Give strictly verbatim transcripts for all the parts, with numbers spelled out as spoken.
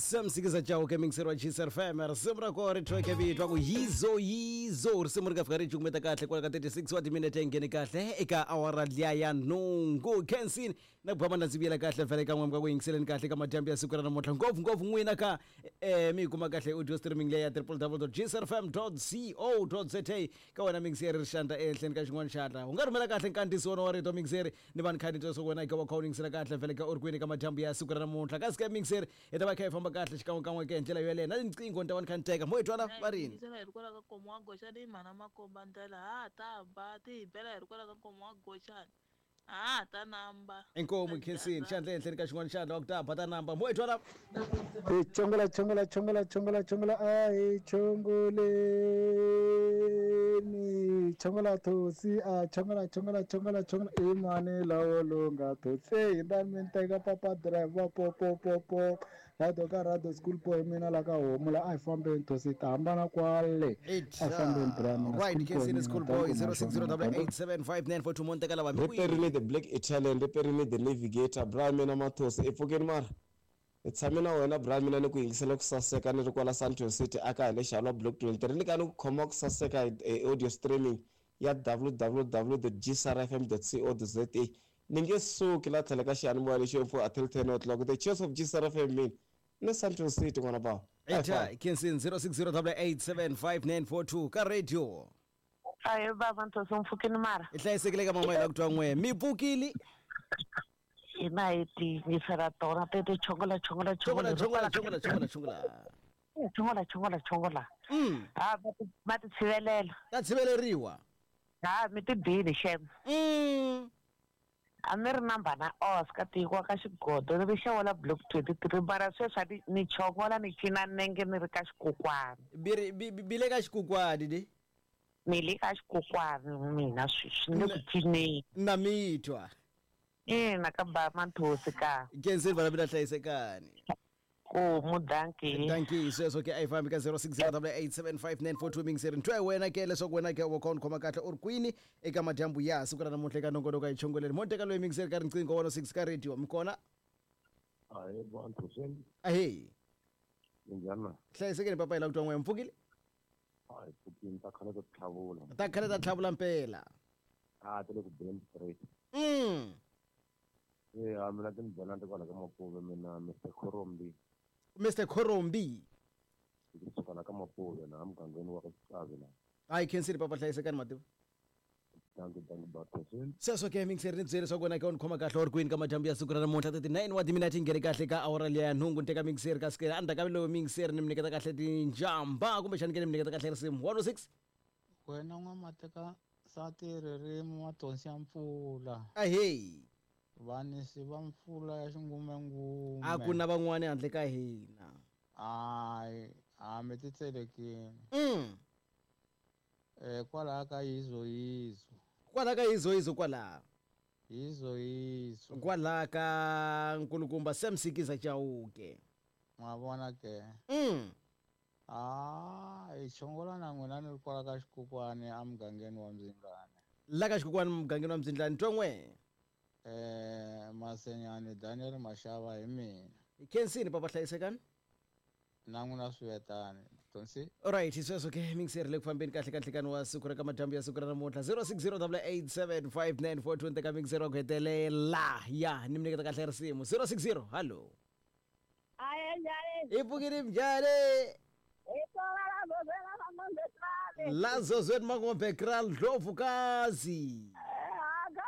Sam Sikiza Chauke mixer wa G S R F M, risimu ra kona ri thweke vito ku Yizo Yizo. Risimu ri nga fika ri cukumeta kahle kwala ka thirty-six wa timinete, nghene kahle eka awara liya ya nhungu. Kensini na ku na ndzi vuyela kahle vhele ka n'we ka ku yingiseleni kahle ka madyambu ya siku ra namuntlha, ngopfu ngopfu n'wina ka eh mi yi kuma kahle audio streaming leya w w w dot g s r f m dot co dot za. Ka wena mixeri ri xandla ehenhleni ka xin'wana xandla, u nga rhumela kahle nkandziso wona wa rito mixeri ni vanhu khani twa swa wena eka wa kha u yingisela kahle vhele ka u ri kwini ka madyambu ya siku ra namuntlha. Kasi ka mixeri hi ta va kha hi famba kahle xikan'wekan'we ke hi ndlela yoyeleyo na tinqingho ni ta va ni kha ni teka mo hi twala va rini. Yingisela hi ri kwala ka nkomo wa Goxani, mhana makomba ndlela ha ta ba ti hi bela hi ri kwala ka nkomo wa Goxani, ha ta namba. Inkomu khensini xandla ehenhleni ka xin'wana xandla wa ku ta ba ta namba mo hi twala. Hey, chongola chongola chongola chongola chongola, ai chongoleni, chongola thosi a chongola chongola chongola chongola i mani lawo longa thosi hi ndani mi teka papa driver po po po po rado ka rado school boy mina la ka homu la a hi fambeni thosi ta hambana kwale a hi fambeni bra mina. Right, khensini school boy, zero six zero eight seven five nine four two mo teka lava mi Riperile the Black Italian, riperile the Navigator, bra mina Mathosi, i pfukeni mara ni tshame na wena bra mina ni ku yingisela ku saseka ni ri kwala Sandton City aka hi le Xalwa Block twenty-three ni ka ni ku khoma ku saseka hi audio streaming ya w w w dot g s r f m dot co dot za. Ni nge suki la tlhela ka xiyanimoya lexi yo until ten o'clock, the cheers of G S R F M mina ni Sandton City n'wana bawa. Eta khensini, zero six zero eight seven five nine four two ka radio. Ayi baba Nthosi, mpfhukini mara. I hlayisekile ka mama hi la ku twa n'we mi pfukile. Hina hi tiyingisela tona tete chongola chongola. Chongola. Chongola. Chongola chongola chongola chongola. Chongola chongola chongola. Mm ha va ti va ti tshivelela. Ta tshiveleriwa. Ha mi ti bini xem. mm A ni ri namba na Oscar tiko ka xigodo ni ri block twenty-three, mara sweswi a ni ni chongola ni cina nenge ni ri ka xikokwani. Biri bi bi- bi le ka xikokwani di. Ni le ka xikokwani mina sweswi ni le ku cineni. Na mi twa. Ina ka ba Manthosi ka. Khensini vana mina hlayisekani. Ku mudanki. Danki sweswo ke a yi fambi ka zero six zero eight seven five nine four two mixeri ntwa hi wena ke leswaku wena ke wa kha u ni khoma kahle u ri kwini eka madyambu ya siku ra namuntlha eka nongonoko hi chongoleni mo teka loyi mixeri ka riqingho one oh six ka radio mi kona. Hayi bantu sen. Ahee. Minjhani na? Hlayisekeni papa, hi la ku twa n'we mi pfukile. Hayi pfukini, ta khale ta tlhavula. Ta khale ta tlhavula mpela. A ti le ku beni straight. mm E a mina ti ni byela ni kwala ka Mapuve mina Mister Khorombi. Mister Khorombi. Ndzi suka la ka Mapuve na mugangeni wa ka Xitsavi la. Hayi khensini papa, hlayisekani mativa. Danki danki bathosen. Sweswo ke mixeri ni byele leswaku wena ke u ni khoma kahle u ri kwini ka madyambu ya siku ra namuntlha, thirty-nine wa timinete nghene kahle ka awara liya ya nhungu. Ni teka mixeri kasi ke endzhaku ka loyo mixeri ni mi nyiketa kahle tinjamba kumbexani ke ni mi nyiketa kahle risimu one oh six. Wena n'wamateka sati ririmi mathonsi ya mpfula. Ahee. Vanisi va mpfula ya xingumengume. A ku na van'wani handle ka hina. Hayi a mi ti tselekini. mm um kwalaha ka yizo yizo. Kwala ka yizo yizo kwala. Yizo yizo. Kwala ka nkulukumba Sam Sikiza Chauke. Ma vona ke. mm a hi chongola na n'wina ni ri kwala ka xikokwani emugangeni wa Mzingane. La ka xikokwani mugangeni wa Mzindlani twa n'we. um Masenyani Daniel Maxava hi mina. Khensini papa, hlayisekani. Na n'wina swivetani tonsi. Alright, sweswo ke mixeri le ku fambeni kahle ka nhlekani wa siku ra ka madyambu ya siku ra namuntlha, zero six zero eight seven five nine four two teka mixeri wa ku hetelela ya ni mi nyiketa kahle risimu zero six zero hallo. Aye, njhani? I pfukile njhani? Hi La zozweni Mangombe Kral Ndlovukazi. Aka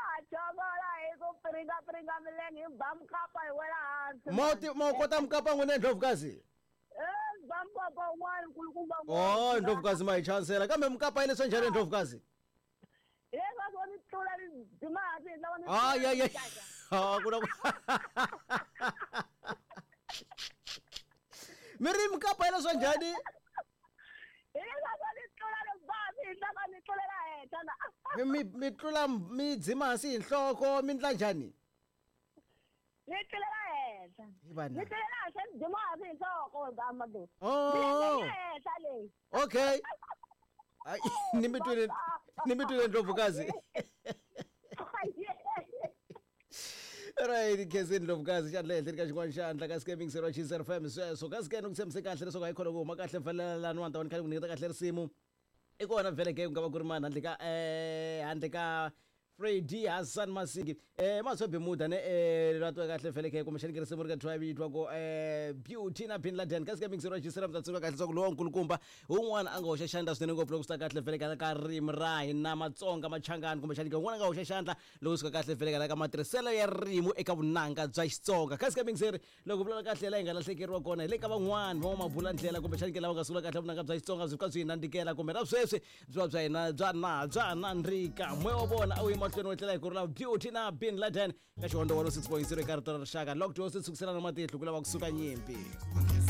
hi ku piringa piringa milenge hi ba mukapa hi wela hansi. Mo ti mo kota mukapa n'wina Ndlovukazi? Eh, ba mukapa un'wana nkulukumba. Oh, Ndlovukazi ma hi chansela kambe mukapa yi leswa njhani Ndlovukazi? Leswaku ni tlula ni dzima hansi hi lava ni. Ay ay ay. Ha ku na mi ri mukapa yi leswa njhani? Hileswaku ni tlula ni ba hansi hi lava ni tlulela henhla na. Mi mi mi tlula mi dzima hansi hi nhloko mi ndla njhani? Ni tlulela henhla. Hi vana. Ni tlulela hansi ni dzima hansi hi nhloko Amadu. Oh. Henhla leyi. Okay. Ay, ni mi twile ni mi twile Ndlovukazi. Right, Khensini Ndlovukazi xandla ehenhleni ka xin'wana xandla ka Scamming zero zero F M sweswo kasi ke ni ku tshembise kahle leswaku a yi khona ku huma kahle mfanelelani wa ta ni khale ku nyiketa kahle risimu i kona vhele ke ku nga va ku ri mani handle ka eh handle ka Freddy Hassan Masingi eh Maswe Bemuda ne eh ra twa kahle vhele ke kumbexani ke risimu ri ka twa vitwa ku eh Beauty na Bin Laden kasi ke mixero wa G M ta tsundzuka kahle leswaku lowa nkulukumba un'wana a nga hoxa xandla swinene ngopfu loko swi ta kahle vhele ka ka ririmi ra hina Matsonga Machangani kumbexani ke un'wana a nga hoxa xandla loko swi ka kahle vhele ka ka matirhiselo ya ririmi eka vunanga bya Xitsonga kasi ke mixero loko vulavula kahle laha hi nga lahlekeriwa kona hi le ka van'wani van'wamabula ndlela kumbexani ke lava nga sungula kahle vunanga bya Xitsonga byi fika byi hi nandzikela kumbe na sweswi byi va bya hina bya na bya nandzika moya wa vona a wu yi mahlweni wo tlela hi ku rula Beauty na Bin Laden ka xihondzo one oh six point zero eka rito ra rixaka locked wo se sukiselana matihlo ku lava kusuka nyimpi.